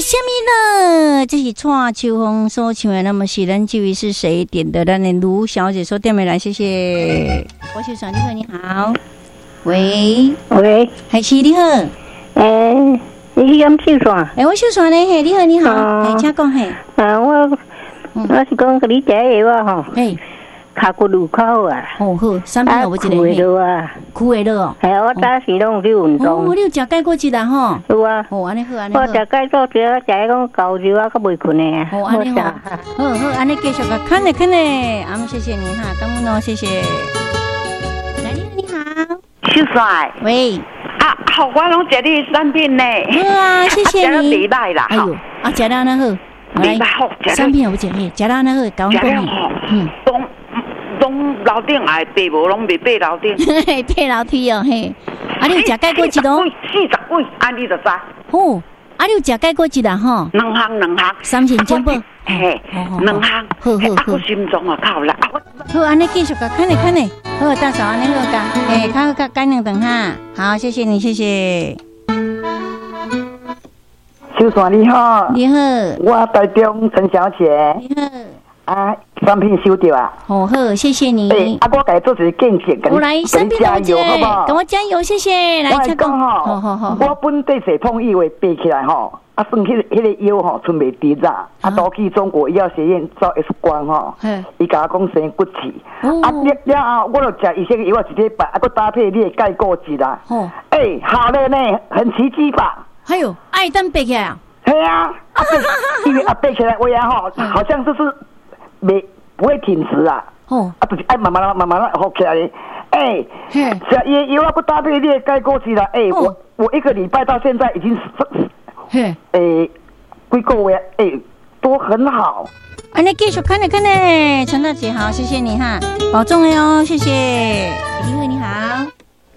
啥物呢？這是蔡秋鳳所唱的，那麼是咱這位是誰點的？咱的盧小姐說點沒來，謝謝。我是說，你好，你好，喂。喂。係是你好。欸，你是敢秀線？欸，我秀線呢，嘿，你好，你好，嘿，請講嘿。啊，我是講予你食藥啊吼。嘿。跤骨有較好啊。哦好，啥物有一個？會落啊。跍會落哦。系啊，我早時攏有去運動。哦，你有食鈣骨質啦吼？有啊。哦，按呢好，按呢好。我食鈣骨質，我食彼講高油啊，閣袂睏的啊。哦，按呢好。好好，按呢繼續共看咧看咧，阿姆謝謝你哈，感恩哦，謝謝。來，你好，你好。秀帥。喂。啊，好，我攏食你的產品呢。好啊，謝謝你。食了袂歹啦。哎喲，啊，食了按呢好。袂歹好，產品有食嘿，食了按呢好，共阮講。嗯。攏樓頂愛爬無，攏袂爬樓頂。爬樓梯哦，嘿。啊，你有食鈣骨質哦？ 40幾，按呢就知。好，啊，你有食鈣骨質啦吼？兩項兩項。三星珍寶。嘿，兩項。好好好。啊，心臟啊較有力。好，按呢繼續共看咧看咧。好，大嫂，按呢好共，嘿，較好較改兩頓哈。好，謝謝你，謝謝。秀線你好。你好。我台中陳小姐。你好。啊，產品收著啊！好好，謝謝你。欸，啊，我共你做一個見證，我來，共你加油，好不好？共我加油，謝謝。來，我講吼，好好好。我本底坐碰以為爬起來吼，啊，算彼個腰吼，賰袂直啦，啊，都去中國醫藥學院照 X 光吼，伊共我講生骨刺，啊，了了後我就食醫生藥一禮拜，啊，閣搭配你的鈣骨質啦。哦。欸，好了呢，很奇蹟吧？哎喲，愛當爬起來啊？係啊，啊，因為啊爬起來話啊吼，好像就是袂不會挺直啊，哦，啊，就是愛慢慢慢慢好起來。欸，食伊的藥啊，閣搭配你的鈣骨質啦。欸，我一個禮拜到現在已經，欸，幾個月，欸，都很好。按呢繼續看咧看咧，陳大姐好，謝謝你哈，保重喲，謝謝。你好，你好。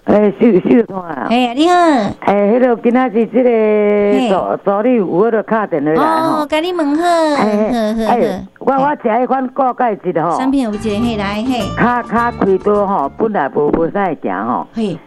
欸，秀秀線啊！欸，你好。欸，彼個今仔日這個助理有彼個敲電話來吼。哦，共你問好。好好好。我食彼款固鈣質吼。產品有一個嘿來嘿。跤跤開刀吼，本來無啥會行吼。嘿。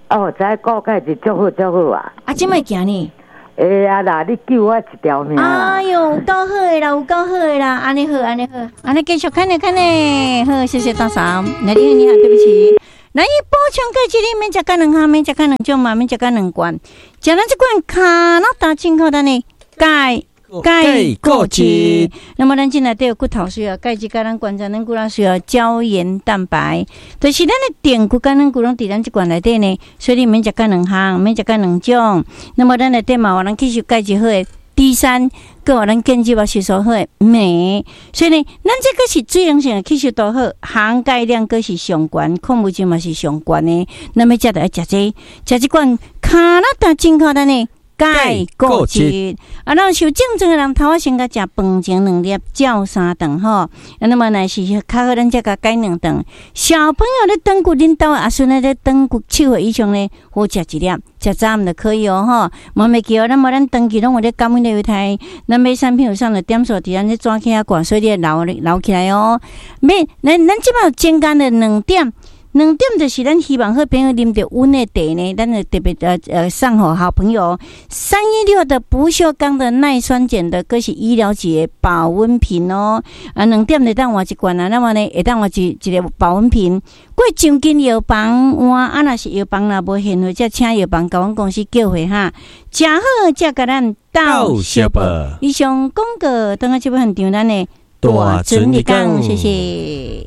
哦，食彼固鈣質足好足好啊。啊，這擺行呢？會啊啦，你救我一條命。哎喲，有夠好的啦，有夠好的啦，按呢好，按呢好，按呢繼續看咧看咧，好，謝謝大嫂。來，你好，你好，對不起。來，你補充鈣質，你免食較兩項，免食較兩種嘛，免食較兩罐。食咱這罐卡那達進口咱的鈣鈣骨質。那麼咱進來底有骨頭需要鈣質，佮咱關節軟骨咱需要膠原蛋白。就是咱的鈿骨佮軟骨攏佇咱這罐內底呢，所以你免食較兩項，免食較兩種。那麼咱內底嘛有咱吸收鈣質好的 D3，閣有咱建築啊吸收好的鎂，所以呢，咱這個是水溶性的吸收度好，含鈣量閣是上懸，礦物質嘛是上懸的。那麼食著愛食這個，食這罐卡那達進口咱的鈣骨質。啊，咱受症狀的人，頭仔先共食飯前兩粒，照三頓吼。啊，那麼若是較好，咱才共改兩頓。小朋友咧斷骨，恁兜阿孫咧斷骨7歲以上咧，好食一粒，食早暗就可以哦吼。嘛袂記哦，咱無咱長期攏有咧感恩的猶太，咱買產品有送的點數佇咱這紙起仔掛，所以你會留起來哦。買，咱這擺有增加了兩點。兩點就是咱希望好朋友啉著阮的茶呢，咱就特別送予好朋友316的不鏽鋼的耐酸鹼的，閣是醫療級的保溫瓶哦。啊，兩點會當換一罐啊，那麼呢會當換一個保溫瓶。過將近藥房換，啊，若是藥房若無現貨，才請藥房共阮公司叫貨哈。誠好，才共咱鬥相報。以上廣告，等下這擺現場咱的大船入港，謝謝。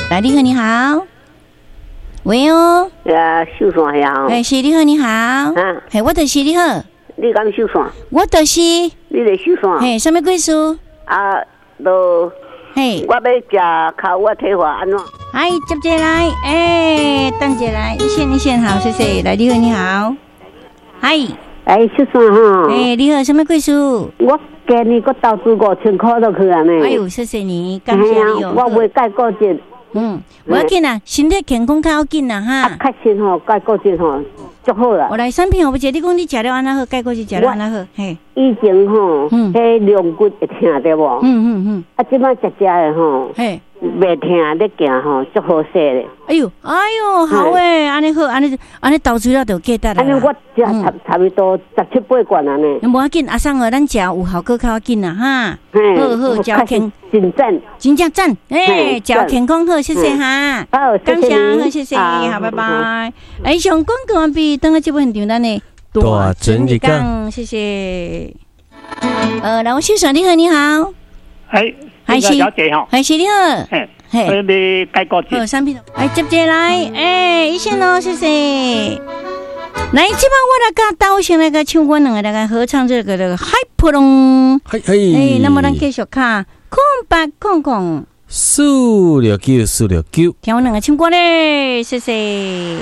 來，你好，你好。喂哦，啊，秀線呀！欸，是你好，你好。啊，嘿，我就是你好。你敢秀線？我就是。你咧秀線？嘿，啥物故事？啊，都。嘿，我欲食跤我退化按怎？哎，接者來，欸，等者來，一線一線，好，謝謝。來，你好，你好。嗨。欸，秀線吼。欸，你好，啥物故事？我今年閣投資5000箍落去啊呢。哎喲，謝謝你，感謝你哦。我袂鈣骨質。嗯，無要緊啦，身體健康較要緊啦哈。啊，確實吼，鈣骨質吼，足好啦。我來產品，我不記你講你食了按怎好，鈣骨質食了按怎好，嘿。以前吼，彼龍骨會疼對無？啊，這擺食食的吼，嘿。袂疼咧行吼，足好勢咧。哎喲，哎喲，好欸，按呢好，按呢按呢投資了就價值啦。按呢我食差不多十七八罐啊呢。無要緊，阿桑哦，咱食有效果較要緊啦哈。好好，食健，真讚，真正讚，欸，食健康好，謝謝哈。好，感謝，好，謝謝，好，拜拜。欸，上廣告完畢，等下這部現場咱的大準日講，謝謝。老先生你好，你好。哎，還是小姐吼，還是你好，嘿，你改過好，產品，哎，接接來，欸，醫生哦，謝謝。來，這擺我來佮導先來佮唱阮兩個來個合唱這個這個海波浪，嘿嘿，欸，那麼咱繼續卡0800 469 469，聽阮兩個唱歌咧，謝謝。